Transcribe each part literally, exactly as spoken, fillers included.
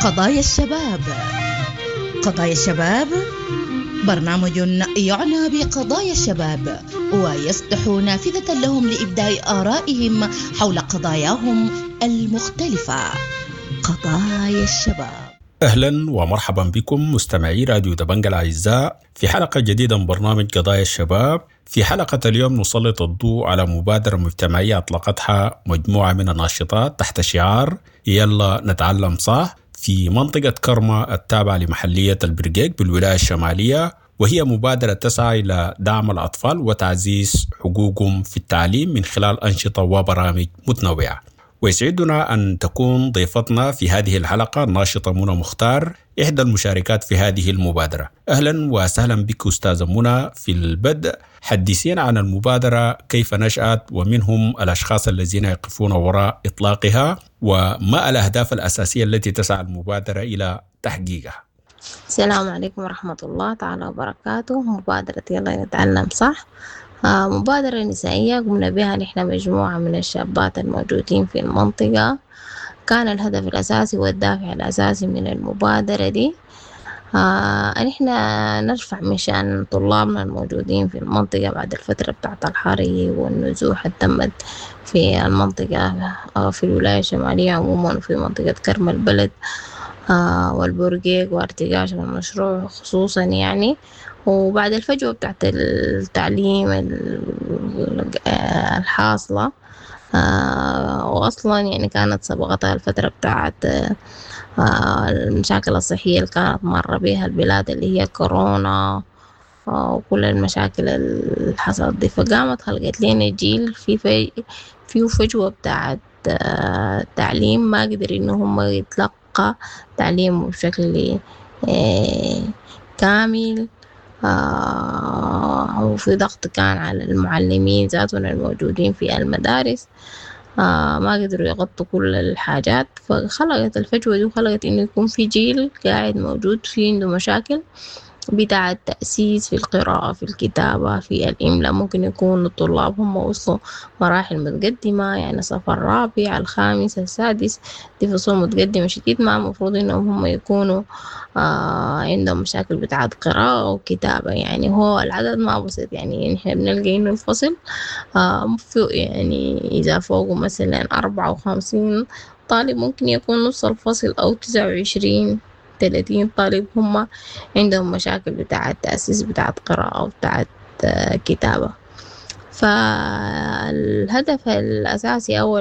قضايا الشباب. قضايا الشباب برنامج يعنى بقضايا الشباب ويفتح نافذة لهم لإبداء آرائهم حول قضاياهم المختلفة. قضايا الشباب. أهلا ومرحبا بكم مستمعي راديو دبنجا الأعزاء في حلقة جديدة من برنامج قضايا الشباب. في حلقة اليوم نسلط الضوء على مبادرة مجتمعية أطلقتها مجموعة من الناشطات تحت شعار يلا نتعلم صح في منطقة كرمة التابعة لمحلية البرقيق بالولاية الشمالية، وهي مبادرة تسعى إلى دعم الأطفال وتعزيز حقوقهم في التعليم من خلال أنشطة وبرامج متنوعة. ويسعدنا أن تكون ضيفتنا في هذه الحلقة الناشطة منى مختار، إحدى المشاركات في هذه المبادرة. أهلا وسهلا بك أستاذة منى. في البدء حدثينا عن المبادرة، كيف نشأت ومنهم الأشخاص الذين يقفون وراء إطلاقها، وما الأهداف الأساسية التي تسعى المبادرة إلى تحقيقها. السلام عليكم ورحمة الله تعالى وبركاته. مبادرة يلا نتعلم صح مبادرة نسائية قمنا بها نحن مجموعة من الشابات الموجودين في المنطقة. كان الهدف الأساسي والدافع الأساسي من المبادرة دي آه نحن نرفع من شأن طلابنا الموجودين في المنطقة بعد الفترة بتاعت الحريق والنزوح اللي تمت في المنطقة في الولاية الشمالية عموما وفي منطقة كرم البلد آه والبرقيق وارتقاش المشروع خصوصا يعني. وبعد الفجوة بتاعت التعليم الحاصلة آه وأصلا يعني كانت سبقتها الفترة بتاعت آه المشاكل الصحية اللي كانت مر بها البلاد اللي هي كورونا آه وكل المشاكل اللي حصلت دي، فقامت خلقت لنا جيل في في فيه فجوة بتاعت آه تعليم ما قدر إنه هم يتلقى تعليم بشكل آه كامل. آه وفي ضغط كان على المعلمين ذاتهم الموجودين في المدارس آه ما قدروا يغطوا كل الحاجات، فخلقت الفجوة دي وخلقت إنه يكون في جيل قاعد موجود في عنده مشاكل بتاع التأسيس في القراءة في الكتابة في الإملاء. ممكن يكون الطلاب هم وصلوا مراحل متقدمة يعني صف الرابع الخامس السادس، دي فصول متقدمة شديد، ما المفروض إنهم هم يكونوا آه عندهم مشاكل بتاعت قراءة وكتابة. يعني هو العدد ما بسيط، يعني نحن بنلقى إنه الفصل آه يعني إذا فوقه مثلا أربعة وخمسين طالب ممكن يكون نص الفصل أو تسعة وعشرين ثلاثين طالب هم عندهم مشاكل بتاعة تأسيس بتاعة قراءة وبتاعة كتابة. فالهدف الأساسي أو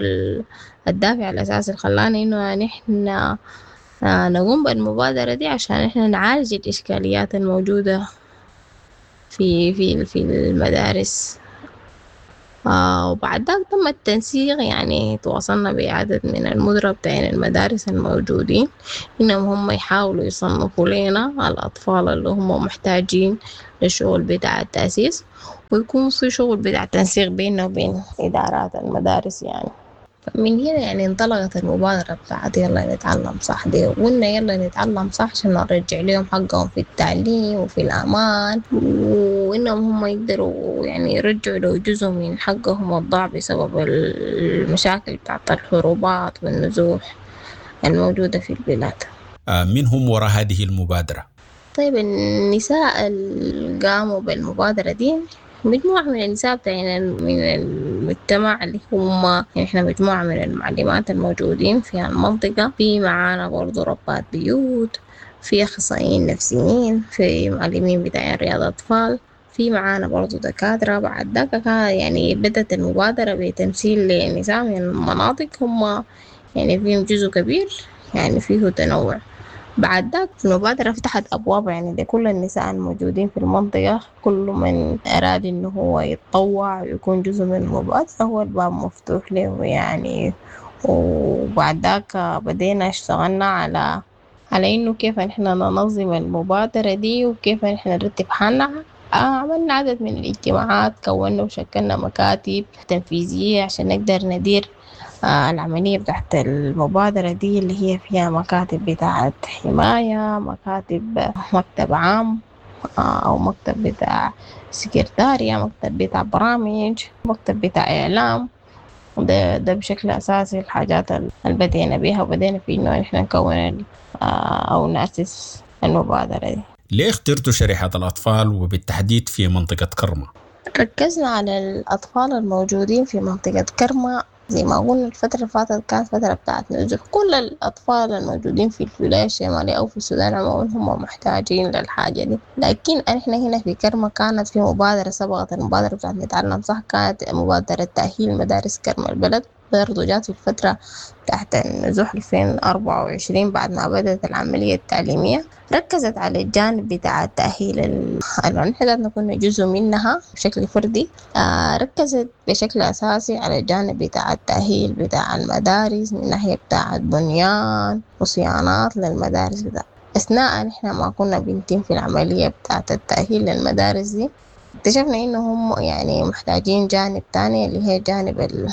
الدافع الأساسي اللي خلانا إنه نحن نقوم بالمبادرة دي عشان إحنا نعالج الإشكاليات الموجودة في في في المدارس. آه وبعد ذاك تم التنسيق، يعني تواصلنا بعدد من المدراء بتاعين المدارس الموجودين إنهم هم يحاولوا يصنفوا لنا الأطفال اللي هم محتاجين للشغل بتاع التأسيس، ويكون في شغل بتاع تنسيق بيننا وبين إدارات المدارس. يعني من هنا يعني انطلقت المبادرة بتاعت يلا نتعلم صح دي، وقلنا يلا نتعلم صح عشان نرجع لهم حقهم في التعليم وفي الأمان، وإنهم هم يقدروا يعني يرجعوا لو جزء من حقهم الضاع بسبب المشاكل بتاعت الحروبات والنزوح الموجودة في البلاد. من هم وراء هذه المبادرة؟ طيب النساء اللي قاموا بالمبادرة دي مجموعة من النساء بتاعنا من المجتمع اللي هم يعني إحنا مجموعة من المعلمات الموجودين في المنطقة، في معانا برضو ربات بيوت، في أخصائيين نفسيين، في معلمين بتاعين رياض أطفال، في معانا برضو دكاترة. بعد ذاك يعني بدأت المبادرة بتمثيل لنساء من المناطق هم يعني فيهم جزء كبير يعني فيه تنوع. بعد ذاك المبادرة فتحت أبواب يعني لكل النساء الموجودين في المنطقة، كل من أراد إنه هو يتطوع ويكون جزء من المبادرة هو الباب مفتوح له يعني. وبعد ذاك بدينا اشتغلنا على على إنه كيف نحن ننظم المبادرة دي وكيف نحن نرتب حالنا. عملنا عدد من الاجتماعات، كونا وشكلنا مكاتب تنفيذية عشان نقدر ندير العملية بتاعت المبادرة دي اللي هي فيها مكاتب بتاعت حماية، مكاتب مكتب عام أو مكتب بتاع سكرتارية، مكتب بتاع برامج، مكتب بتاع إعلام. ده, ده بشكل أساسي الحاجات اللي بدينا بيها، وبدينا في إنه إحنا نكون أو نأسس المبادرة دي. ليه اخترتوا شريحة الأطفال وبالتحديد في منطقة كرمة؟ ركزنا على الأطفال الموجودين في منطقة كرمة. زي ما قلنا الفترة اللي فاتت كانت فترة بتاعت نزوح، كل الأطفال الموجودين في الولاية الشمالية أو في السودان عموما هم محتاجين للحاجة دي. لكن إحنا هنا في كرمة كانت في مبادرة سبقت المبادرة بتاعت نتعلم صح، كانت مبادرة تأهيل مدارس كرمة البلد، برضو جات في الفترة تحت النزوح ألفين وأربعة وعشرين بعد ما بدأت العملية التعليمية. ركزت على الجانب بتاع التأهيل ال-، نحن ذاتنا كنا جزء منها بشكل فردي. آه، ركزت بشكل أساسي على الجانب بتاع التأهيل بتاع المدارس من ناحية بتاع بنيان وصيانات للمدارس بتاع. أثناء نحن ما كنا بنتم في العملية بتاعة التأهيل للمدارس دي اكتشفنا إنه هم يعني محتاجين جانب تاني اللي هي جانب ال-،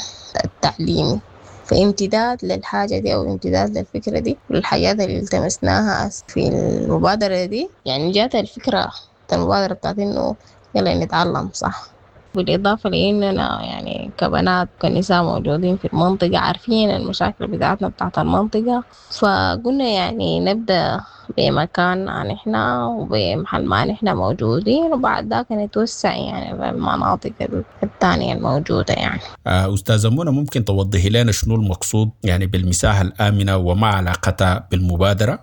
التعليمي، فامتداد للحاجة دي أو امتداد للفكرة دي والحاجات اللي التمسناها في المبادرة دي. يعني جات الفكرة المبادرة بتاعت إنه يلا نتعلم صح، بالإضافة لإننا يعني كبنات وكنساء موجودين في المنطقة عارفين المشاكل بتاعتنا بتاعت المنطقة، فقلنا يعني نبدأ بمكاننا نحن وبمحل ما نحن موجودين، وبعد ذاك نتوسع يعني للمناطق الثانية الموجودة. يعني آه، أستاذة منى، ممكن توضحي لنا شنو المقصود يعني بالمساحة الآمنة وما علاقتها بالمبادرة؟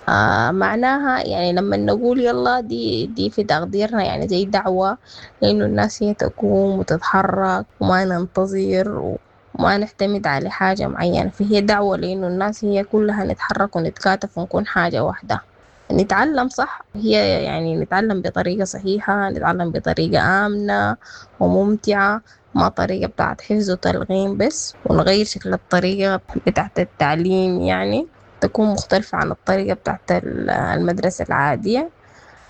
آه، معناها يعني لما نقول يلا دي، دي في تقديرنا يعني زي دعوة لأنه الناس هي تقوم وتتحرك وما ننتظر وما نعتمد على حاجة معينة، فهي دعوة لأنه الناس هي كلها نتحرك ونتكاتف ونكون حاجة واحدة. نتعلم صح هي يعني نتعلم بطريقة صحيحة، نتعلم بطريقة آمنة وممتعة، ما طريقة بتاعت حفظ وتلغيم بس، ونغير شكل الطريقة بتاعت التعليم يعني تكون مختلفة عن الطريقة بتاعت ال-، المدرسة العادية،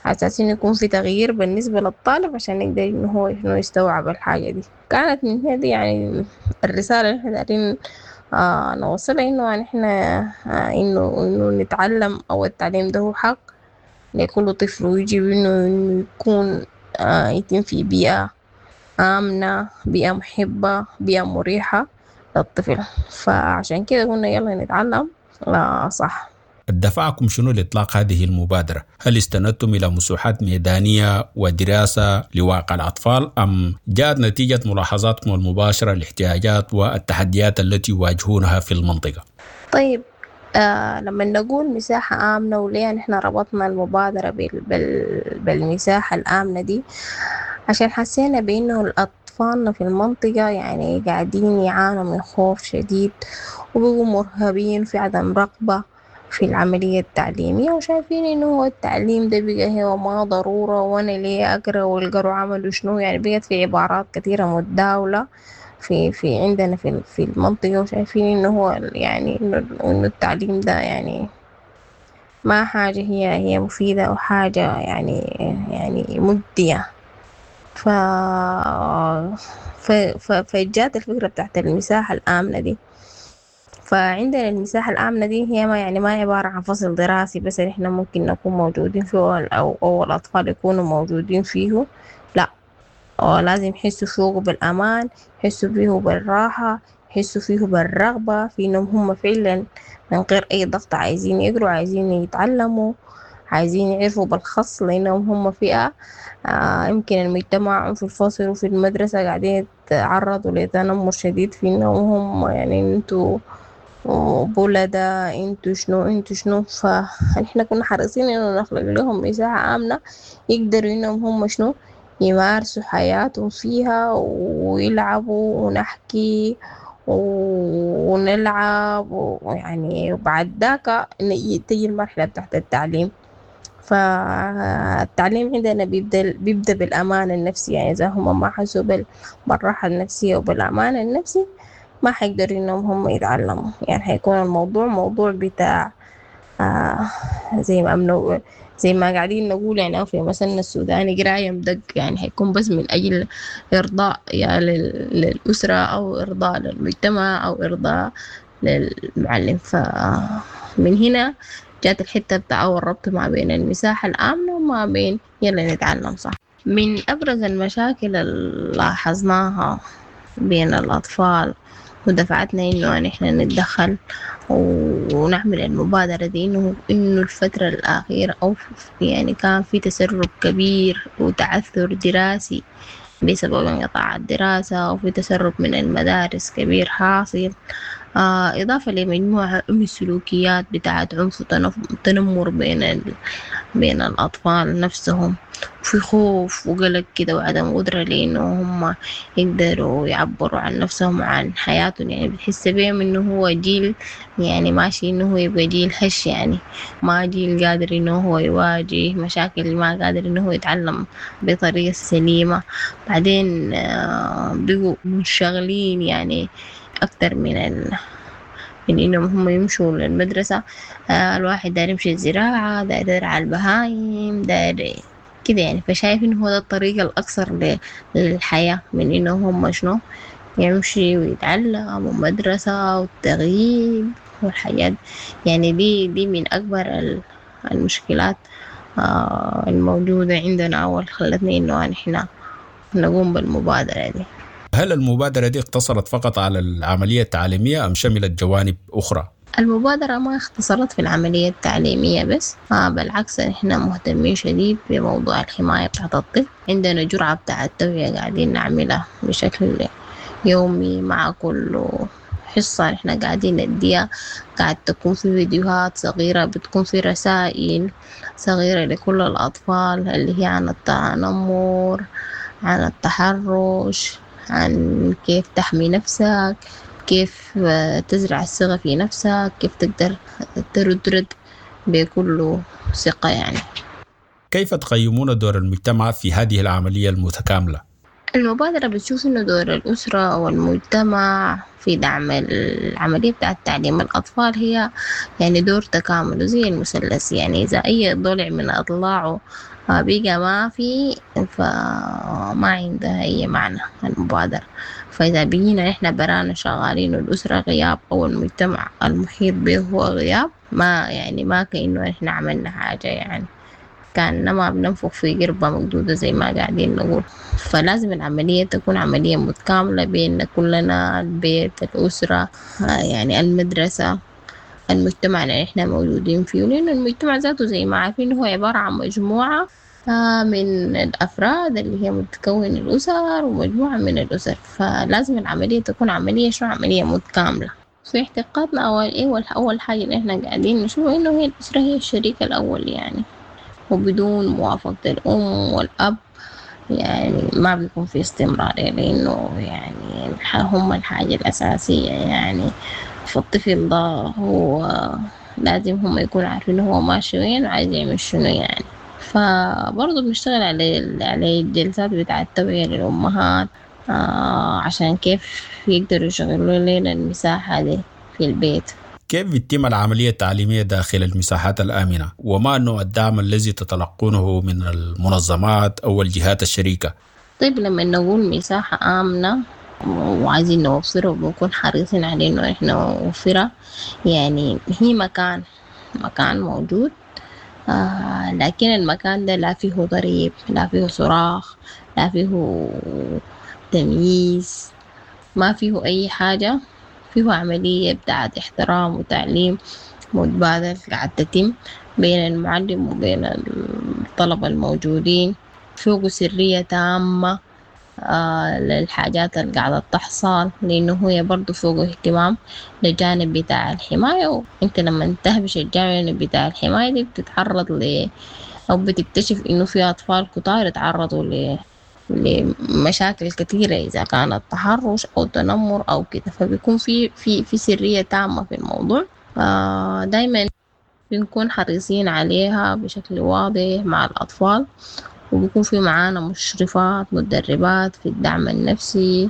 على أساس إنه يكون في تغيير بالنسبة للطالب عشان يقدر إنه هو إنه يستوعب الحاجة دي. كانت من هنا دي يعني الرسالة اللي إحنا دايرين، آه، نوصلها، إنه يعني إحنا، آه، إنه، إنه نتعلم أو التعليم ده هو حق لكل طفل، ويجب إنه، إنه يكون، آه، يتم في بيئة آمنة، بيئة محبة، بيئة مريحة للطفل. فعشان كده قلنا يلا نتعلم لا صح. دفعكم شنو لإطلاق هذه المبادرة؟ هل استندتم إلى مساحات ميدانية ودراسة لواقع الأطفال أم جاءت نتيجة ملاحظاتكم المباشرة للاحتياجات والتحديات التي يواجهونها في المنطقة؟ طيب، آه، لما نقول مساحة آمنة وليه نحن ربطنا المبادرة بال-، بال-، بالمساحة الآمنة دي؟ عشان حسينا بأنه الأطفال في المنطقة يعني قاعدين يعانوا من خوف شديد وبقوا مرهبين في عدم رغبة في العملية التعليمية، وشايفين إنه هو التعليم ده بقى هو ما ضرورة، وأنا ليه أقرأ والقروا عملوا شنو، يعني بقت في عبارات كثيرة متداولة في، في عندنا في، في المنطقة، وشايفين إنه هو يعني إنه، إنه التعليم ده يعني ما حاجة هي، هي مفيدة أو حاجة يعني، يعني مجدية. ف، ف، ف، فجات الفكرة بتاعت المساحة الآمنة دي. فعندنا المساحة الآمنة دي هي ما يعني ما عبارة عن فصل دراسي بس إحنا ممكن نكون موجودين فيه أو، أو الأطفال يكونوا موجودين فيه، لا، أو لازم يحسوا فيه بالأمان، يحسوا فيه بالراحة، يحسوا فيه بالرغبة في إنهم هم فعلا من غير أي ضغط عايزين يقروا، عايزين يتعلموا، عايزين يعرفوا بالخص، لأنهم هم فئة، آه، يمكن المجتمع في الفصل وفي المدرسة قاعدين يتعرضوا لتنمر شديد في إنهم هم يعني انتوا بولدا، انتوا شنو، انتوا شنو. فنحن كنا حريصين إنه نخلق لهم مساحة آمنة يقدروا إنهم هم شنو يمارسوا حياتهم فيها ويلعبوا ونحكي ونلعب، ويعني وبعد ذاك تيجي المرحلة بتاعت التعليم. فالتعليم عندنا بيبدأ، بيبدأ بالأمان النفسي، يعني إذا هم ما حسوا بال-، بالراحة النفسية وبالأمان النفسي ما حيقدروا إنهم هم يتعلموا، يعني حيكون الموضوع موضوع بتاع، آه، زي ما أمنوا، زي ما قاعدين نقول يعني في مثلنا السوداني قراية مدق، يعني حيكون بس من أجل إرضاء يا لل-، للأسرة أو إرضاء للمجتمع أو إرضاء للمعلم. فمن هنا جات الحتة بتاع أول ربط ما بين المساحة الآمنة وما بين يلا نتعلم صح. من أبرز المشاكل اللي لاحظناها بين الأطفال ودفعتنا إنه نحن نتدخل ونعمل المبادرة دي، إنه إنه الفترة الأخيرة أو يعني كان في تسرب كبير وتعثر دراسي بسبب انقطاع الدراسة، وفي تسرب من المدارس كبير حاصل، آه إضافة لمجموعة من السلوكيات بتاعت عنف وتنمر بين ال... بين الأطفال نفسهم، وفي خوف وقلق كده وعدم قدرة لأنه هم يقدروا يعبروا عن نفسهم وعن حياتهم. يعني بتحس بيهم إنه هو جيل يعني ماشي إنه هو يبقى جيل هش، يعني ما جيل قادر إنه هو يواجه مشاكل، ما قادر إنه هو يتعلم بطريقة سليمة. بعدين آه بقوا منشغلين يعني أكتر من ال... من إنهم هم يمشوا للمدرسة. آه الواحد داير يمشي الزراعة، داير يرعى البهايم، داير كده يعني. فشايف إنه هو ده الطريق الأقصر للحياة من إنه هم شنو يمشي ويتعلم ومدرسة والتغييب والحياة. يعني دي دي من أكبر المشكلات آه الموجودة عندنا أو خلتنا إنه نحن نقوم بالمبادرة دي. هل المبادرة دي اقتصرت فقط على العملية التعليمية أم شملت جوانب أخرى؟ المبادرة ما اختصرت في العملية التعليمية بس، آه بالعكس نحن مهتمين شديد بموضوع الحماية بتاعت الطفل. عندنا جرعة بتاعت التوعية قاعدين نعملها بشكل يومي مع كل حصة نحن قاعدين نديها، قاعد تكون في فيديوهات صغيرة، بتكون في رسائل صغيرة لكل الأطفال اللي هي عن التنمر، عن التحرش، عن كيف تحمي نفسك، كيف تزرع الثقة في نفسك، كيف تقدر ترد رد بكل ثقة. يعني كيف تقيمون دور المجتمع في هذه العملية المتكاملة؟ المبادرة بتشوف إنه دور الأسرة والمجتمع في دعم العملية بتاعة تعليم الأطفال هي يعني دور تكامل زي المثلث. يعني إذا أي ضلع من أضلاعه بقى ما في فما عندها أي معنى المبادرة. فإذا بقينا إحنا برانا شغالين والأسرة غياب أو المجتمع المحيط به هو غياب، ما يعني ما كأنه إحنا عملنا حاجة، يعني كأنما بننفخ في قربة مقدودة زي ما قاعدين نقول. فلازم العملية تكون عملية متكاملة بين كلنا، البيت، الأسرة، يعني المدرسة، المجتمع اللي احنا موجودين فيه. لأنه المجتمع ذاته زي ما عارفين هو عبارة عن مجموعة من الأفراد اللي هي متكون الأسر ومجموعة من الأسر. فلازم العملية تكون عملية شو عملية متكاملة. في اعتقادنا أول إيه أول حاجة اللي احنا قاعدين نشوف إنه هي الأسرة هي الشريك الأول، يعني وبدون موافقة الأم والأب يعني ما بيكون في استمرار، لأنه يعني هم الحاجة الأساسية. يعني فالطفل ده هو لازم هم يكونوا عارفين هو ماشي وين وعايز يعمل شنو يعني. فبرضه بنشتغل على على الجلسات بتاعة التوعية للأمهات آه عشان كيف يقدروا يشغلوا لنا المساحة دي في البيت. كيف بتتم العملية التعليمية داخل المساحات الآمنة؟ وما نوع الدعم الذي تتلقونه من المنظمات أو الجهات الشريكة؟ طيب لما نقول مساحة آمنة وعايزين نوفرها وبنكون حريصين على إنه إحنا نوفرها، يعني هي مكان مكان موجود آه لكن المكان ده لا فيه ضريب، لا فيه صراخ، لا فيه تمييز، ما فيه أي حاجة. فيه عملية بتاعت احترام وتعليم متبادل قاعد تتم بين المعلم وبين الطلبة الموجودين. فوق سرية تامة آه للحاجات اللي قاعدة تحصل، لأنه هي برضو فوق اهتمام للجانب بتاع الحماية. وانت لما تهبش الجانب بتاع الحماية دي بتتعرض ل أو بتكتشف إنه في أطفال كتار اتعرضوا ل لمشاكل كثيرة إذا كانت تحرش أو تنمر أو كده، فبيكون في في في سرية تامة في الموضوع. آه دايما بنكون حريصين عليها بشكل واضح مع الأطفال، وبيكون في معانا مشرفات مدربات في الدعم النفسي،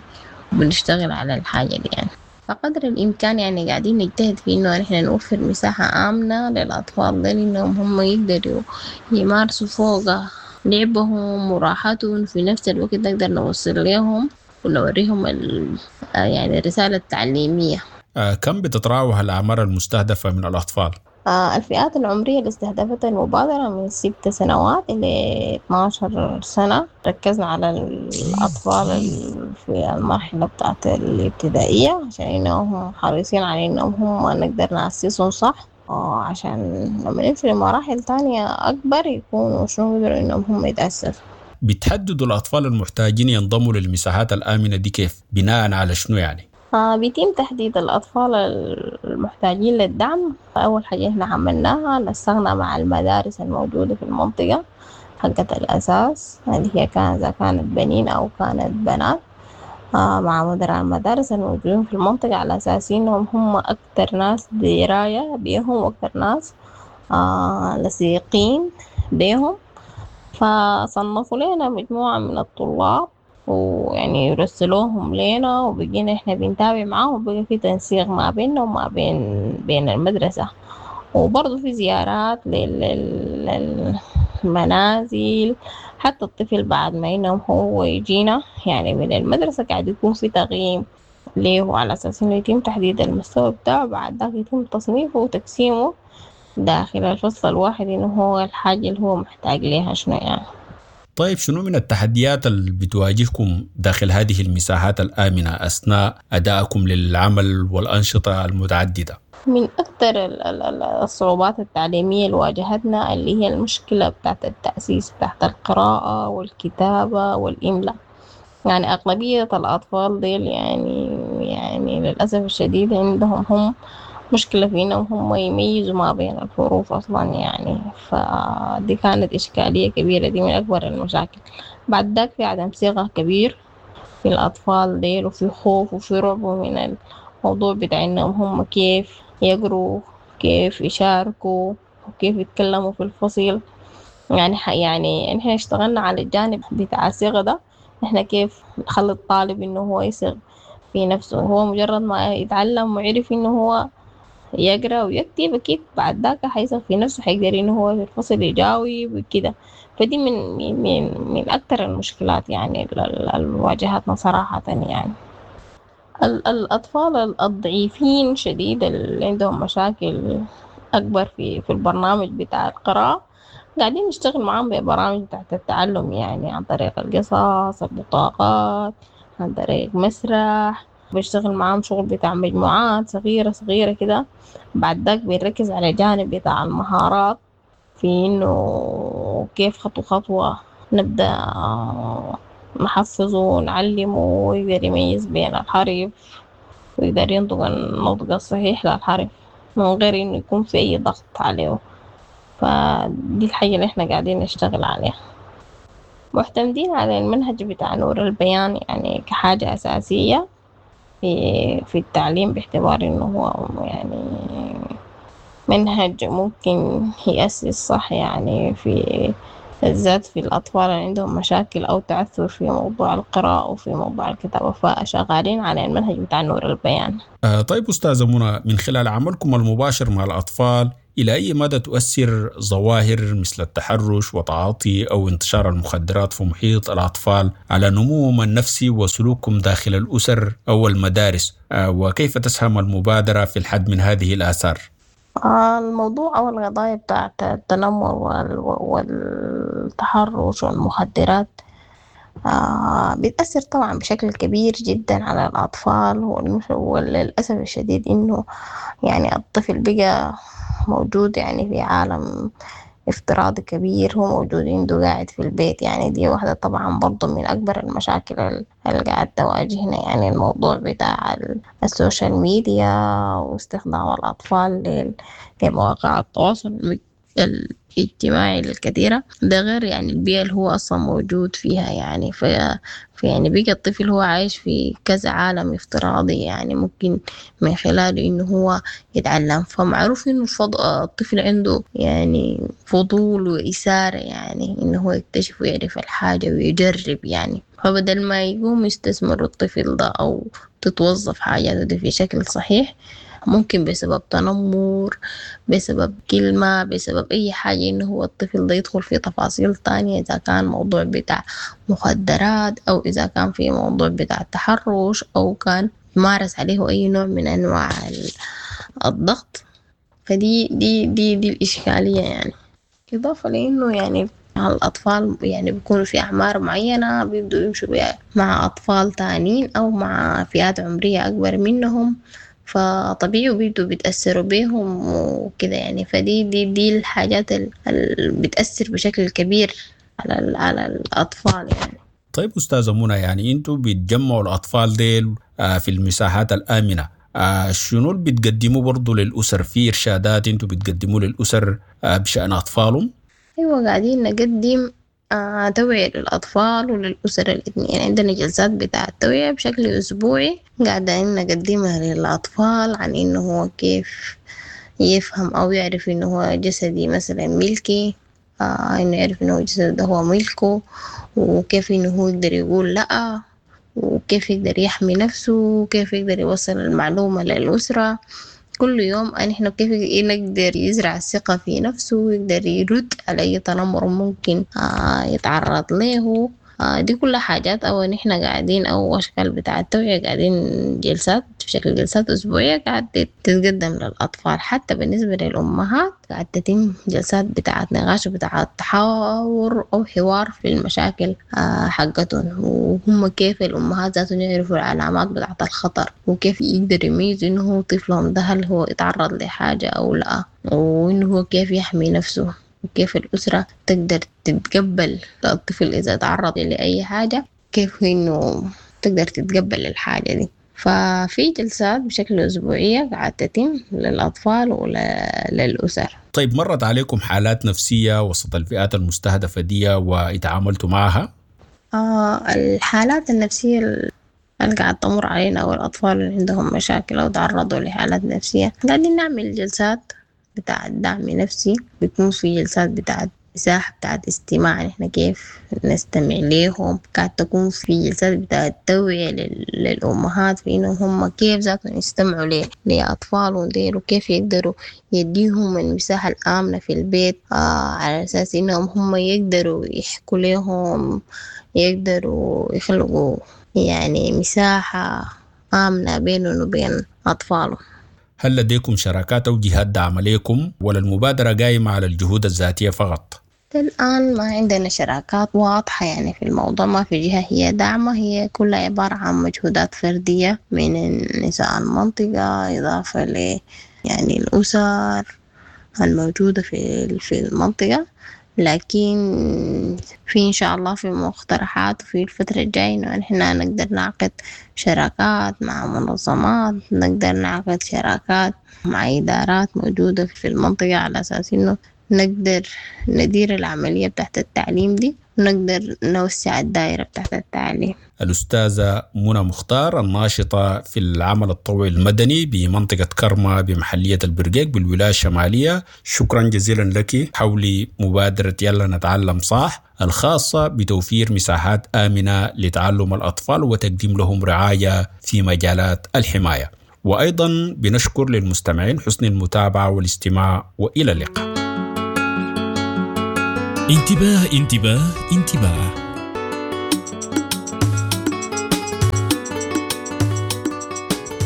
وبنشتغل على الحاجة دي يعني. فقدر الإمكان يعني قاعدين نجتهد في إنه نحن نوفر مساحة آمنة للأطفال دي، إنهم هم يقدروا يمارسوا فوقها لعبهم وراحتهم، في نفس الوقت نقدر نوصل لهم ونوريهم يعني الرسالة التعليمية. آه، كم بتتراوح الأعمار المستهدفة من الأطفال؟ آه الفئات العمرية اللي استهدفتها المبادرة من ست سنوات إلى اتناشر سنة. ركزنا على الأطفال في المرحلة بتاعت الابتدائية عشان إنهم حريصين على إنهم هم نقدر نأسسهم صح، عشان لما نمشي لمراحل تانية أكبر يكونوا شنو يقدروا إنهم هم يتأسسوا. بتحددوا الأطفال المحتاجين ينضموا للمساحات الآمنة دي كيف؟ بناء على شنو يعني؟ آه بيتم تحديد الأطفال المحتاجين للدعم. أول حاجة إحنا عملناها نسقنا مع المدارس الموجودة في المنطقة حقة الأساس اللي هي كان إذا كانت بنين أو كانت بنات، آه مع مدراء المدارس الموجودين في المنطقة على أساس إنهم هم أكتر ناس دراية بيهم وأكتر ناس آه لصيقين بيهم. فصنفوا لنا مجموعة من الطلاب ويعني يرسلوهم لنا، وبقينا إحنا بنتابع معاهم، وبقى في تنسيق ما بيننا وما بين بين المدرسة، وبرضه في زيارات للمنازل. حتى الطفل بعد ما إنه هو يجينا يعني من المدرسة قاعد يكون في تقييم ليه على أساس إنه يتم تحديد المستوى بتاعه، بعد ذاك يتم تصنيفه وتقسيمه داخل الفصل الواحد إنه هو الحاجة اللي هو محتاج ليها شنو يعني. طيب شنو من التحديات اللي بتواجهكم داخل هذه المساحات الآمنة أثناء أدائكم للعمل والأنشطة المتعددة؟ من أكثر الصعوبات التعليمية اللي واجهتنا اللي هي المشكلة بتاعت التأسيس بتاعت القراءة والكتابة والإملاء. يعني أغلبية الأطفال ديل يعني يعني للأسف الشديد عندهم هم مشكلة في إنهم هم يميزوا ما بين الحروف أصلا يعني، فدي كانت إشكالية كبيرة، دي من أكبر المشاكل. بعد ذاك في عدم ثقة كبير في الأطفال ديل، وفي خوف وفي رعب من الموضوع بتاع إنهم هم كيف يقروا، كيف يشاركوا، وكيف يتكلموا في الفصل. يعني يعني إحنا اشتغلنا على الجانب بتاع الثقة ده، إحنا كيف نخلي الطالب إنه هو يثق في نفسه. هو مجرد ما يتعلم ويعرف إنه هو يقرأ ويكتب أكيد بعد ذاك حيثق في نفسه، حيقدر إنه هو في الفصل يجاوب وكده. فدي من من من أكتر المشكلات يعني اللي واجهتنا صراحة. يعني الأطفال الضعيفين شديد اللي عندهم مشاكل أكبر في في البرنامج بتاع القراءة قاعدين نشتغل معاهم ببرامج بتاعت التعلم، يعني عن طريق القصص، البطاقات، عن طريق مسرح. بشتغل معاهم شغل بتاع مجموعات صغيرة صغيرة كده. بعد ذاك بنركز على جانب بتاع المهارات في إنه كيف خطوة خطوة نبدأ نحفظه ونعلمه ويقدر يميز بين الحرف ويقدر ينطق النطق الصحيح للحرف من غير إنه يكون في أي ضغط عليه. فدي الحاجة اللي إحنا قاعدين نشتغل عليها. معتمدين على المنهج بتاع نور البيان يعني كحاجة أساسية في في التعليم، باعتبار إنه هو يعني منهج ممكن يأسس صح يعني في بالذات في الأطفال اللي عندهم مشاكل أو تعثر في موضوع القراءة وفي موضوع الكتابة، فشغالين على المنهج بتاع نور البيان. آه طيب أستاذة منى، من خلال عملكم المباشر مع الأطفال، إلى أي مدى تؤثر ظواهر مثل التحرش وتعاطي أو انتشار المخدرات في محيط الأطفال على نموهم النفسي وسلوكهم داخل الأسر أو المدارس، وكيف تسهم المبادرة في الحد من هذه الآثار؟ الموضوع أو القضايا بتاعت التنمر والتحرش والمخدرات بتأثر طبعا بشكل كبير جدا على الأطفال، وللأسف الشديد إنه يعني الطفل بقى موجود يعني في عالم افتراضي كبير، هو موجود عنده قاعد في البيت. يعني دي واحدة طبعا برضو من أكبر المشاكل اللي قاعد تواجهنا، يعني الموضوع بتاع السوشيال ميديا واستخدام الأطفال لمواقع التواصل الاجتماعي الكثيرة، ده غير يعني البيئة اللي هو أصلا موجود فيها. يعني في يعني بقى الطفل هو عايش في كذا عالم افتراضي، يعني ممكن من خلاله إنه هو يتعلم. فمعروف إنه الطفل عنده يعني فضول وإثارة، يعني إنه هو يكتشف ويعرف الحاجة ويجرب يعني. فبدل ما يقوم يستثمر الطفل ده أو تتوظف حاجاته دي في شكل صحيح، ممكن بسبب تنمر، بسبب كلمة، بسبب أي حاجة، إنه هو الطفل ده يدخل في تفاصيل تانية، إذا كان موضوع بتاع مخدرات أو إذا كان في موضوع بتاع تحرش أو كان مارس عليه أي نوع من أنواع الضغط. فدي دي دي دي الإشكالية يعني. إضافة لأنه يعني الأطفال يعني بيكونوا في أعمار معينة بيبدوا يمشوا مع أطفال تانيين أو مع فئات عمرية أكبر منهم، فطبيعي بيبدوا بيتأثروا بيهم وكده يعني. فدي دي دي الحاجات اللي بتأثر بشكل كبير على على الأطفال يعني. طيب أستاذة منى، يعني أنتوا بتجمعوا الأطفال ديل في المساحات الآمنة، شنو اللي بتقدموه برضو للأسر؟ في إرشادات أنتوا بتقدموه للأسر بشأن أطفالهم؟ أيوة، قاعدين نقدم آه توعية للأطفال وللأسر الاثنين. يعني عندنا جلسات بتاع التوعية بشكل أسبوعي قاعدين نقدمها للأطفال عن إنه هو كيف يفهم أو يعرف إنه هو جسدي مثلا ملكي، آه إنه يعرف إنه جسده ده هو ملكه، وكيف إنه هو يقدر يقول لأ، وكيف يقدر يحمي نفسه، وكيف يقدر يوصل المعلومة للأسرة. كل يوم نحن كيف نقدر يزرع الثقة في نفسه ويقدر يرد على أي تنمر ممكن آه يتعرض له. آه دي كلها حاجات أو نحن قاعدين أو أشكال بتاع التوعية قاعدين جلسات بشكل جلسات أسبوعية قاعد تتقدم للأطفال. حتى بالنسبة للأمهات قاعد تتم جلسات بتاعة نقاش وبتاعة تحاور أو حوار في المشاكل آه حقتهم، وهم كيف الأمهات ذاتهم يعرفوا العلامات بتاعة الخطر، وكيف يقدر يميزوا إنه هو طفلهم ده هل هو يتعرض لحاجة أو لا، وإنه هو كيف يحمي نفسه، وكيف الأسرة تقدر تتقبل الطفل إذا تعرض لأي حاجة، كيف إنه تقدر تتقبل الحاجة دي. ففي جلسات بشكل أسبوعية قاعدة تتم للأطفال وللأسر. طيب، مرت عليكم حالات نفسية وسط الفئات المستهدفة دي واتعاملتوا معها؟ آه الحالات النفسية اللي قاعدة تمر علينا أو الأطفال اللي عندهم مشاكل أو تعرضوا لحالات نفسية، قاعدين نعمل جلسات بتاع دعم نفسي، بيكون في جلسات بتاعت مساحة بتاعت استماع، نحن كيف نستمع ليهم. قاعد تكون في جلسات بتاعت توعية للأمهات في إنه هم كيف ذاتهم يستمعوا لأطفالهم ديل، وكيف يقدروا يديهم المساحة الآمنة في البيت، آه على أساس إنهم هم يقدروا يحكوا لهم، يقدروا يخلقوا يعني مساحة آمنة بينهم وبين أطفالهم. هل لديكم شراكات أو جهات داعمة لكم، ولا المبادرة قائمة على الجهود الذاتية فقط؟ الآن ما عندنا شراكات واضحة يعني في الموضوع، ما في جهة هي داعمة، هي كلها عبارة عن مجهودات فردية من نساء المنطقة، إضافة ل يعني الأسر الموجودة في في المنطقة. لكن في إن شاء الله في مقترحات في الفترة الجاية إنه إحنا نقدر نعقد شراكات مع منظمات، نقدر نعقد شراكات مع إدارات موجودة في المنطقة، على أساس إنه نقدر ندير العملية بتاعت التعليم دي ونقدر نوسع الدائرة بتاعت التعليم. الأستاذة منى مختار، الناشطة في العمل الطوعي المدني بمنطقة كرمة بمحلية البرقيق بالولاية الشمالية، شكرا جزيلا لك حول مبادرة يلا نتعلم صح الخاصة بتوفير مساحات آمنة لتعلم الأطفال وتقديم لهم رعاية في مجالات الحماية. وأيضا بنشكر للمستمعين حسن المتابعة والاستماع، وإلى اللقاء. انتباه انتباه انتباه.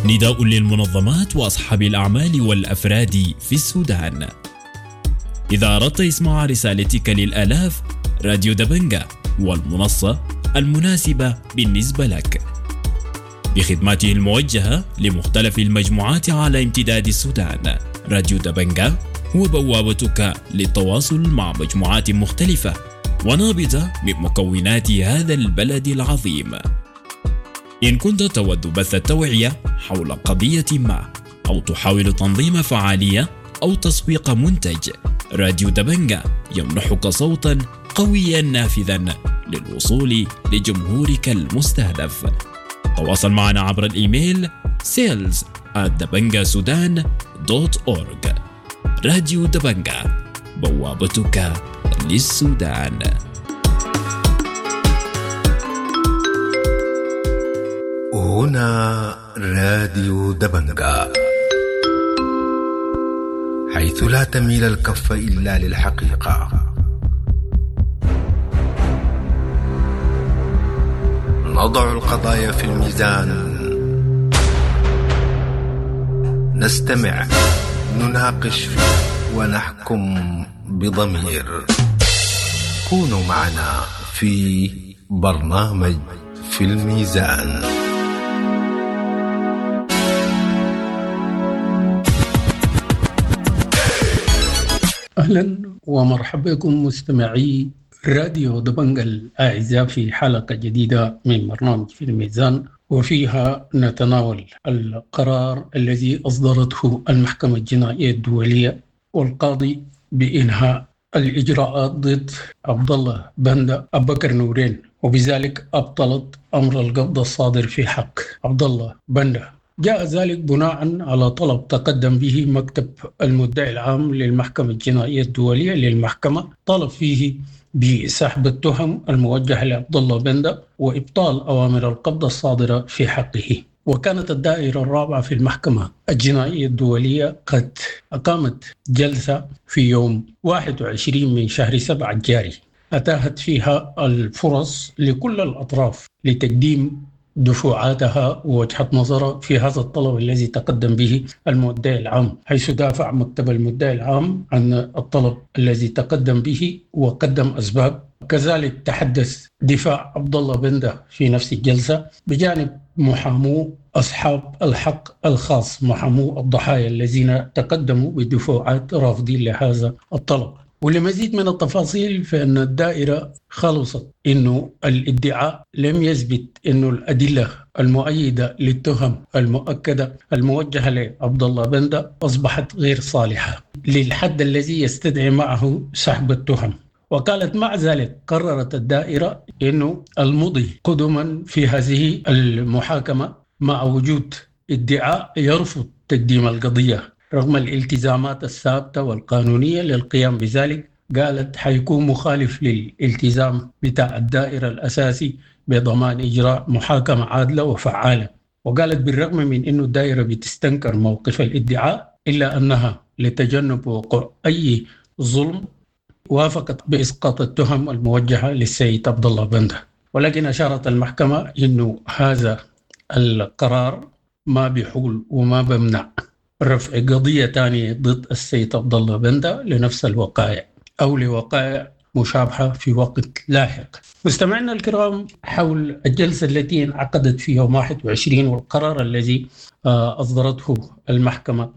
نداء للمنظمات وأصحاب الأعمال والأفراد في السودان. إذا أردت إسماع رسالتك للآلاف، راديو دبنجة والمنصة المناسبة بالنسبة لك بخدماته الموجهة لمختلف المجموعات على امتداد السودان. راديو دبنجة هو بوابتك للتواصل مع مجموعات مختلفة ونابضة من مكونات هذا البلد العظيم. إن كنت تود بث التوعية حول قضية ما، أو تحاول تنظيم فعالية أو تسويق منتج، راديو دبنجة يمنحك صوتا قويا نافذا للوصول لجمهورك المستهدف. تواصل معنا عبر الإيميل sales at dabangasudan dot org. راديو دبنجة، بوابتك للسودان. هنا راديو دبنجة، حيث لا تميل الكف إلا للحقيقة. نضع القضايا في الميزان، نستمع، نناقش فيه ونحكم بضمير. كونوا معنا في برنامج في الميزان. أهلا ومرحبا بكم مستمعي راديو دبنجا الأعزاء في حلقة جديدة من برنامج في الميزان، وفيها نتناول القرار الذي أصدرته المحكمة الجنائية الدولية والقاضي بإنهاء الإجراءات ضد عبد الله بندة أبو بكر نورين، وبذلك أبطلت أمر القبض الصادر في حق عبد الله بندة. جاء ذلك بناء على طلب تقدم به مكتب المدعي العام للمحكمة الجنائية الدولية للمحكمة، طلب فيه بسحب التهم الموجهة لعبد الله بندة وإبطال أوامر القبض الصادرة في حقه. وكانت الدائرة الرابعة في المحكمة الجنائية الدولية قد أقامت جلسة في يوم واحد وعشرين من شهر سبعة الجاري، أتاحت فيها الفرص لكل الأطراف لتقديم دفوعاتها ووجهة نظرها في هذا الطلب الذي تقدم به المدعي العام، حيث دافع مكتب المدعي العام عن الطلب الذي تقدم به وقدم أسباب. كذلك تحدث دفاع عبد الله بندة في نفس الجلسة بجانب محامو أصحاب الحق الخاص، محامو الضحايا الذين تقدموا بدفوعات رافضين لهذا الطلب. ولمزيد من التفاصيل فإن الدائرة خلصت إنه الادعاء لم يثبت إنه الأدلة المؤيدة للتهم المؤكدة الموجهة لعبد الله بندة أصبحت غير صالحة للحد الذي يستدعي معه سحب التهم. وقالت مع ذلك قررت الدائرة إنه المضي قدما في هذه المحاكمة مع وجود ادعاء يرفض تقديم القضية رغم الالتزامات الثابتة والقانونية للقيام بذلك. قالت حيكون مخالف للالتزام بتاع الدائرة الأساسي بضمان إجراء محاكمة عادلة وفعالة. وقالت بالرغم من أنه الدائرة بتستنكر موقف الادعاء إلا أنها لتجنب وقوع أي ظلم وافقت بإسقاط التهم الموجهة للسيد عبد الله بندة. ولكن أشارت المحكمة أنه هذا القرار ما بيحول وما بمنع رفع قضية ثانية ضد السيد عبد الله بندة لنفس الوقائع أو لوقائع مشابهة في وقت لاحق. مستمعينا الكرام، حول الجلسة التي انعقدت في يوم واحد وعشرين والقرار الذي أصدرته المحكمة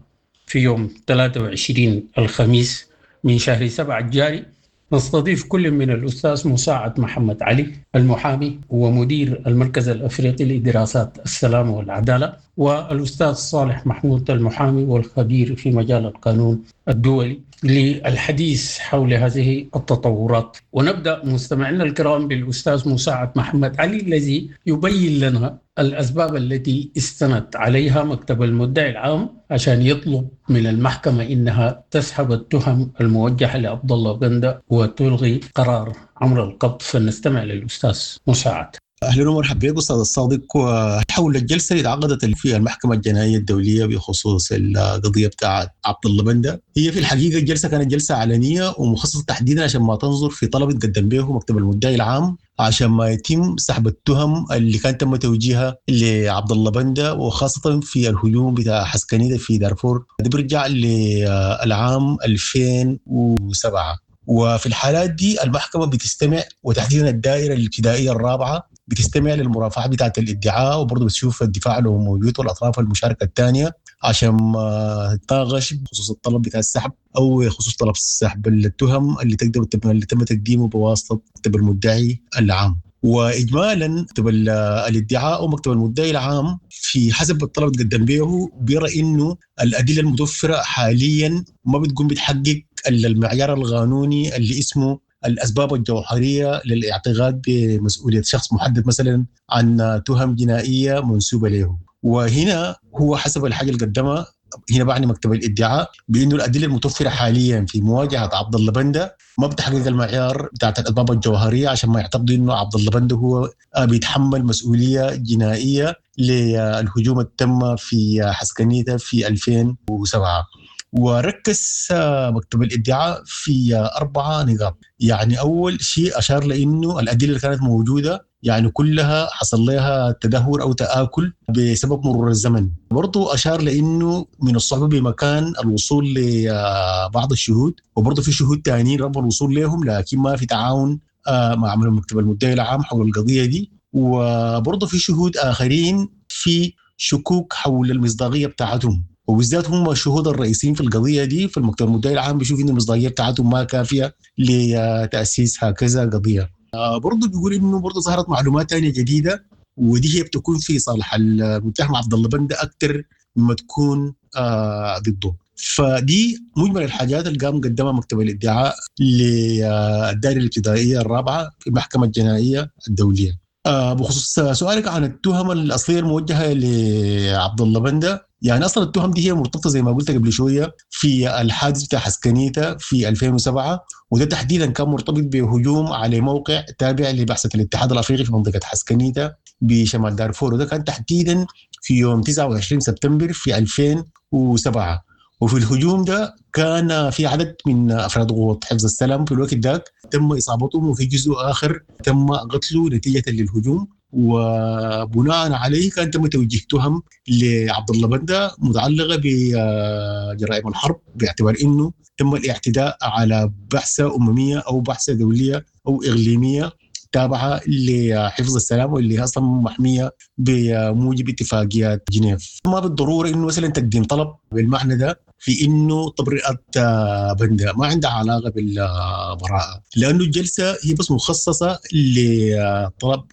في يوم ثلاثة وعشرين الخميس من شهر سبعة الجاري، نستضيف كل من الأستاذ مساعد محمد علي المحامي ومدير المركز الأفريقي لدراسات السلام والعدالة، والأستاذ صالح محمود المحامي والخبير في مجال القانون الدولي للحديث حول هذه التطورات. ونبدأ مستمعينا الكرام بالأستاذ مساعد محمد علي الذي يبين لنا الأسباب التي استند عليها مكتب المدعي العام عشان يطلب من المحكمة إنها تسحب التهم الموجهة لعبد الله بندة وتلغي قرار أمر القبض. فنستمع للأستاذ مساعد. أهلا ومرحبا بك أستاذ الصادق. وحول الجلسة اللي تعقدت في المحكمة الجنائية الدولية بخصوص القضية بتاعت عبد الله بندة، هي في الحقيقة الجلسة كانت جلسة علنية ومخصصة تحديدا عشان ما تنظر في طلب تقدم به مكتب المدعي العام عشان ما يتم سحب التهم اللي كان تم توجيهها لعبد الله بندة، وخاصة في الهجوم بتاع حسكنيدة في دارفور. ده بيرجع للعام ألفين وسبعة. وفي الحالات دي المحكمة بتستمع، وتحديدا الدائرة الابتدائية الرابعة بتستمع للمرافعة بتاعة الادعاء، وبرضه بتشوف الدفاع لو موجود والأطراف المشاركة الثانية عشان ما تناقش بخصوص الطلب بتاع السحب أو خصوص طلب سحب التهم اللي تقدر اللي تم تقديمه بواسطة مكتب المدعي العام. وإجمالا مكتب الادعاء ومكتب المدعي العام في حسب الطلب تقدم به بيرى إنه الأدلة المتوفرة حاليا ما بتقوم بتحقق المعيار القانوني اللي اسمه الأسباب الجوهرية للاعتقاد بمسؤولية شخص محدد مثلا عن تهم جنائية منسوبة له. وهنا هو حسب الحاجة اللي قدمها هنا بعني مكتب الادعاء بأنه الأدلة المتوفرة حاليا في مواجهة عبد الله بندة ما بتحقق المعيار بتاعت الأسباب الجوهرية عشان ما يعتقدوا أنه عبد الله بندة هو بيتحمل مسؤولية جنائية للهجوم التم في حسكنيته في ألفين وسبعة. وركز مكتب الادعاء في أربعة نقاط. يعني أول شيء أشار لأنه الأدلة اللي كانت موجودة يعني كلها حصل لها تدهور أو تآكل بسبب مرور الزمن. برضو أشار لأنه من الصعوبة بمكان الوصول لبعض الشهود، وبرضو في شهود تانيين رغم الوصول لهم لكن ما في تعاون مع مكتب المدعي العام حول القضية دي، وبرضو في شهود آخرين في شكوك حول المصداقية بتاعتهم، وبالذات هم الشهود الرئيسيين في القضية دي. في المكتب المدعي العام بيشوف إن المصداقية بتاعتهم ما كافية لتأسيس هكذا قضية. برضو بيقول إنه برضو ظهرت معلومات تانية جديدة، ودي هي بتكون في صالح المتهم عبد الله بندة أكثر مما تكون ضده. فدي مجمل الحاجات اللي قام قدمها مكتب الادعاء للدائرة الابتدائية الرابعة في المحكمة الجنائية الدولية. بخصوص سؤالك عن التهم الأصلية الموجهة لعبد الله بندة، يعني أصلا التهم دي هي مرتبطة زي ما قلت قبل شوية في الحادث بتاع حسكنيتا في ألفين وسبعة، وده تحديدا كان مرتبط بهجوم على موقع تابع لبعثة الاتحاد الأفريقي في منطقة حسكنيتا بشمال دارفور، وده كان تحديدا في يوم تسعة وعشرين سبتمبر في ألفين وسبعة. وفي الهجوم ده كان في عدد من أفراد قوة حفظ السلام في الوقت ذاك تم إصابتهم، وفي جزء آخر تم قتله نتيجة للهجوم، وبناء عليه كان تم توجيه تهم لعبد الله بندة متعلقة بجرائم الحرب، باعتبار إنه تم الاعتداء على بعثة أممية أو بعثة دولية أو إقليمية تابعة لحفظ السلام واللي أصلا محمية بموجب اتفاقيات جنيف. ما بالضرورة إنه مثلا تقديم طلب بالمعنى ده في إنه تبرئة بندة ما عندها علاقة بالبراءة، لأنه الجلسة هي بس مخصصة لطلب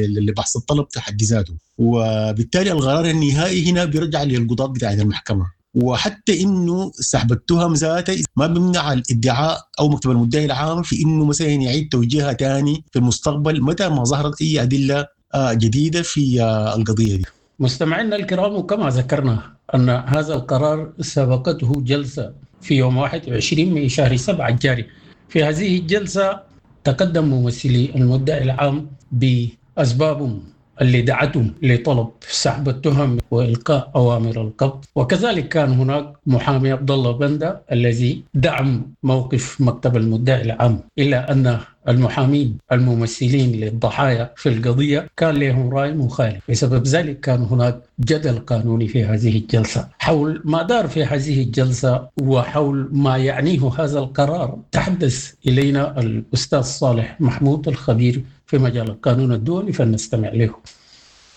لبحث الطلب في حد ذاته، وبالتالي القرار النهائي هنا بيرجع للقضاة بتاع المحكمة. وحتى إنه سحب التهم ذاته ما بيمنع الادعاء أو مكتب المدعي العام في إنه مثلا يعيد توجيهها تاني في المستقبل متى ما ظهرت أي أدلة جديدة في القضية دي. مستمعينا الكرام، وكما ذكرنا أن هذا القرار سبقته جلسة في يوم واحد وعشرين من شهر سبعة الجاري. في هذه الجلسة تقدم ممثلي المدعي العام بأسبابهم اللي دعتهم لطلب سحب التهم وإلقاء أوامر القبض، وكذلك كان هناك محامي عبد الله بندة الذي دعم موقف مكتب المدعي العام، إلا أن المحامين الممثلين للضحايا في القضية كان لهم رأي مخالف، بسبب ذلك كان هناك جدل قانوني في هذه الجلسة حول ما دار في هذه الجلسة وحول ما يعنيه هذا القرار. تحدث إلينا الأستاذ صالح محمود الخبير في مجال القانون الدولي، فلنستمع له.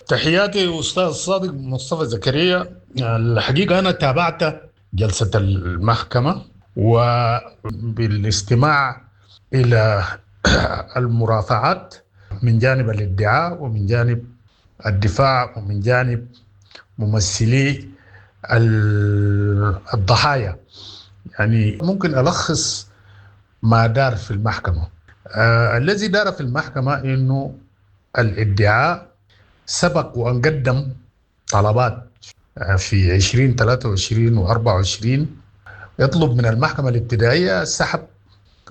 تحياتي أستاذ صادق مصطفى زكريا. الحقيقة أنا تابعت جلسة المحكمة، وبالاستماع إلى المرافعات من جانب الادعاء ومن جانب الدفاع ومن جانب ممثلي الضحايا، يعني ممكن ألخص ما دار في المحكمة. آه الذي دار في المحكمة إنه الادعاء سبق وأن قدم طلبات في عشرين ثلاثة وعشرين وأربعة وعشرين يطلب من المحكمة الابتدائية سحب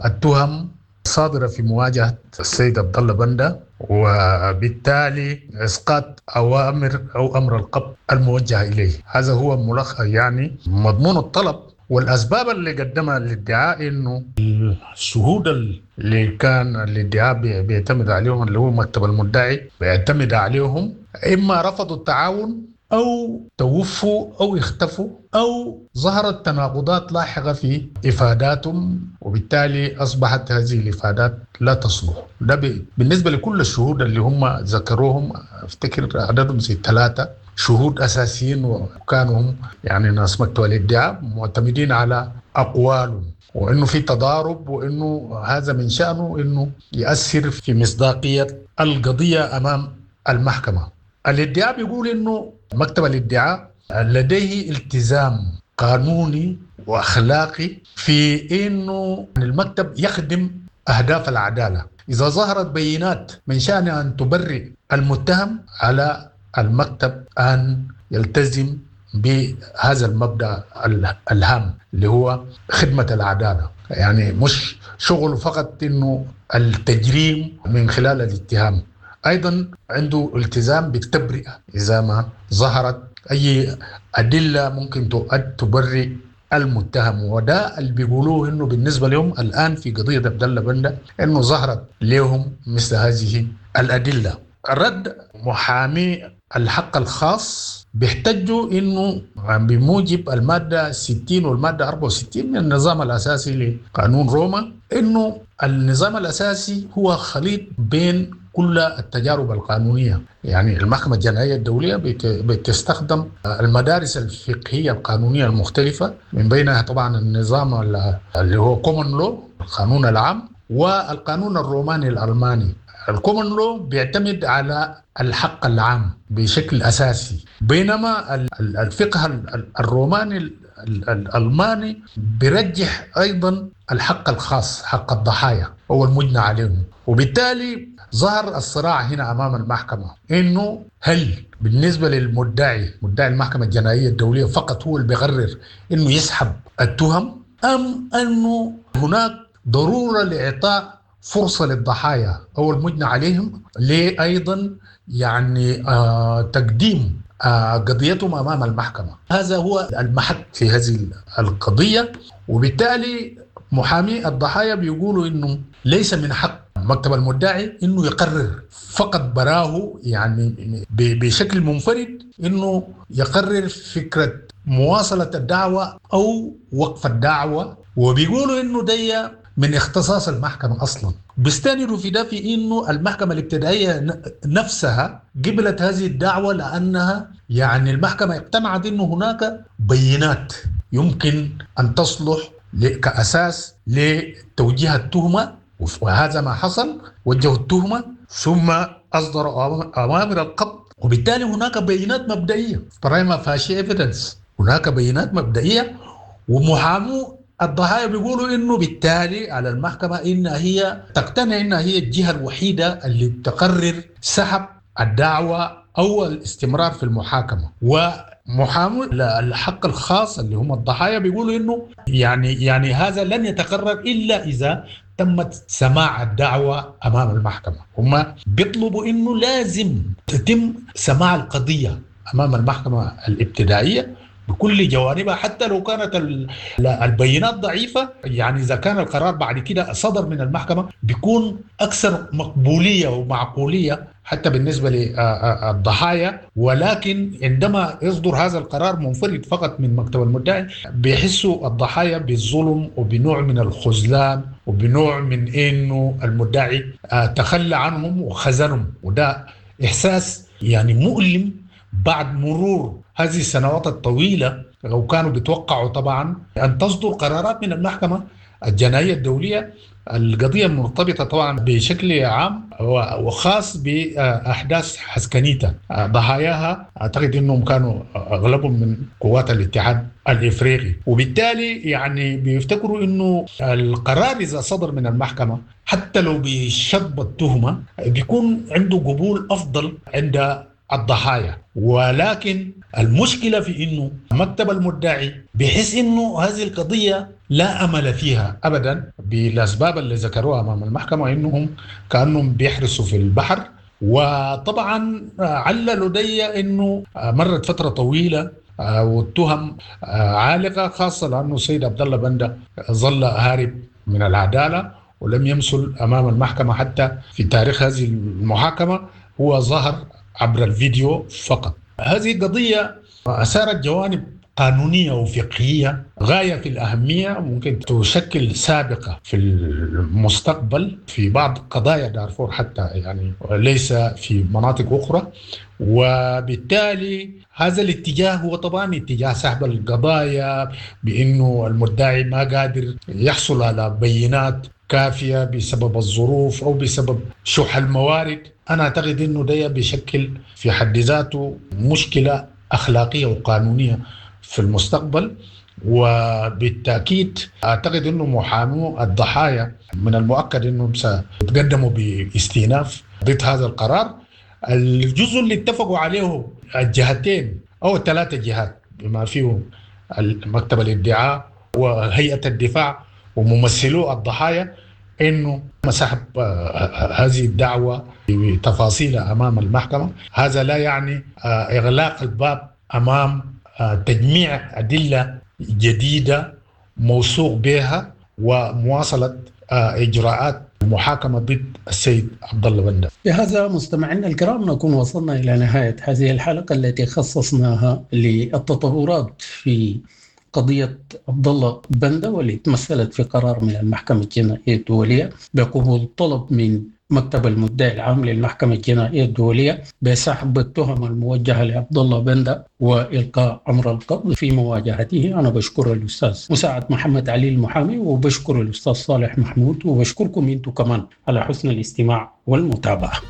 التهم صادرة في مواجهة السيد عبد الله بندة، وبالتالي إسقاط أوامر أو أمر القبض الموجه إليه. هذا هو ملخص يعني مضمون الطلب. والأسباب اللي قدمها الادعاء إنه الشهود اللي كان الادعاء بيعتمد عليهم اللي هو مكتب المدعي بيعتمد عليهم إما رفضوا التعاون أو توفوا أو اختفوا أو ظهرت تناقضات لاحقة في إفاداتهم، وبالتالي أصبحت هذه الإفادات لا تصلح. ده بالنسبة لكل الشهود اللي هم ذكروهم، أفتكر عددهم زي ثلاثة شهود أساسيين، وكانوا هم يعني ناس مكتب الادعاء معتمدين على أقوالهم، وإنه في تضارب، وإنه هذا من شأنه إنه يأثر في مصداقية القضية أمام المحكمة. الادعاء بيقول إنه مكتب الادعاء لديه التزام قانوني وأخلاقي في إنه المكتب يخدم أهداف العدالة. إذا ظهرت بينات من شأنها أن تبرئ المتهم، على المكتب أن يلتزم بهذا المبدأ الهام اللي هو خدمة العدالة. يعني مش شغله فقط إنه التجريم من خلال الاتهام، أيضا عنده التزام بالتبرئة إذا ما ظهرت أي أدلة ممكن تبرئ المتهم. وده اللي بيقولوه إنه بالنسبة لهم الآن في قضية عبد الله بندة إنه ظهرت لهم مثل هذه الأدلة. رد محامي الحق الخاص بيحتجوا انه بموجب المادة ستين والمادة أربعة وستين من النظام الاساسي لقانون روما، انه النظام الاساسي هو خليط بين كل التجارب القانونية. يعني المحكمة الجنائية الدولية بتستخدم المدارس الفقهية القانونية المختلفة، من بينها طبعا النظام اللي هو common law، القانون العام، والقانون الروماني الألماني. ال common law بيعتمد على الحق العام بشكل أساسي، بينما الفقه الروماني الألماني بيرجح أيضا الحق الخاص، حق الضحايا أو المجنى عليهم. وبالتالي ظهر الصراع هنا أمام المحكمة، إنه هل بالنسبة للمدعي، مدعي المحكمة الجنائية الدولية فقط هو اللي بيقرر إنه يسحب التهم، أم أنه هناك ضرورة لإعطاء فرصة للضحايا أو المجنى عليهم لأيضا يعني آه تقديم آه قضيتهم أمام المحكمة. هذا هو المحك في هذه القضية. وبالتالي محامي الضحايا بيقولوا إنه ليس من حق مكتب المدعي إنه يقرر فقط براه، يعني بشكل منفرد إنه يقرر فكرة مواصلة الدعوة أو وقف الدعوة. وبيقولوا إنه دي من اختصاص المحكمة أصلا. بيستندوا في ده في إنه المحكمة الابتدائية نفسها قبلت هذه الدعوة، لأنها يعني المحكمة اقتنعت إنه هناك بينات يمكن أن تصلح كأساس لتوجيه التهمة، وهذا ما حصل. وجهوا التهمة ثم أصدروا أوامر القبض، وبالتالي هناك بينات مبدئية، prima facie evidence، هناك بينات مبدئية. ومحامو الضحايا بيقولوا انه بالتالي على المحكمة ان هي تقتنع انها هي الجهة الوحيدة اللي تقرر سحب الدعوة او الاستمرار في المحاكمة. ومحامو الحق الخاص اللي هم الضحايا بيقولوا انه يعني يعني هذا لن يتقرر الا اذا تمت سماع الدعوة امام المحكمة. هم بيطلبوا انه لازم تتم سماع القضية امام المحكمة الابتدائية بكل جوانبها، حتى لو كانت البينات ضعيفة. يعني إذا كان القرار بعد كده صدر من المحكمة بيكون أكثر مقبولية ومعقولية حتى بالنسبة للضحايا. ولكن عندما يصدر هذا القرار منفرد فقط من مكتب المدعي بيحسوا الضحايا بالظلم وبنوع من الخذلان وبنوع من إنه المدعي تخلى عنهم وخذلهم، وده إحساس يعني مؤلم بعد مرور هذه السنوات الطويلة. لو كانوا بيتوقعوا طبعا أن تصدر قرارات من المحكمة الجنائية الدولية، القضية مرتبطة طبعا بشكل عام وخاص بأحداث حسكنيتا، ضحاياها أعتقد أنهم كانوا أغلبهم من قوات الاتحاد الإفريقي، وبالتالي يعني بيفتكروا أنه القرار إذا صدر من المحكمة حتى لو بشطب التهمة بيكون عنده قبول أفضل عند الضحايا. ولكن المشكلة في إنه مكتب المدعي بحس إنه هذه القضية لا أمل فيها أبدا بالأسباب اللي ذكروها أمام المحكمة، إنهم كأنهم بيحرسوا في البحر. وطبعا عللوا دي إنه مرت فترة طويلة والتهم عالقة، خاصة لأنه السيد عبد الله بندة ظل هارب من العدالة ولم يمثل أمام المحكمة حتى في تاريخ هذه المحاكمة، هو ظهر عبر الفيديو فقط. هذه القضية أثارت جوانب قانونية وفقهية غاية في الأهمية، ممكن تشكل سابقة في المستقبل في بعض قضايا دارفور حتى، يعني ليس في مناطق أخرى. وبالتالي هذا الاتجاه هو طبعا اتجاه سحب القضايا، بأنه المدعي ما قادر يحصل على بينات كافية بسبب الظروف أو بسبب شح الموارد. أنا أعتقد أنه ده بيشكل في حد ذاته مشكلة أخلاقية وقانونية في المستقبل. وبالتأكيد أعتقد أنه محامو الضحايا من المؤكد أنهم سيتقدموا باستئناف ضد هذا القرار. الجزء اللي اتفقوا عليه الجهتين أو الثلاثة جهات بما فيهم مكتب الادعاء وهيئة الدفاع وممثلو الضحايا، انه سحب هذه الدعوة بتفاصيلها امام المحكمة. هذا لا يعني اغلاق الباب امام تجميع ادلة جديدة موثوق بها ومواصله اجراءات المحاكمة ضد السيد عبد الله بندة. بهذا مستمعينا الكرام نكون وصلنا إلى نهاية هذه الحلقة التي خصصناها للتطورات في قضية عبد الله بندة، والتي تمثلت في قرار من المحكمة الجنائية الدولية بقبول طلب من مكتب المدعي العام للمحكمة الجنائية الدولية بسحب التهم الموجهة لعبد الله بندة وإلقاء أمر القبض في مواجهته. أنا بشكر الأستاذ مساعد محمد علي المحامي، وبشكر الأستاذ صالح محمود، وبشكركم أنتم كمان على حسن الاستماع والمتابعة.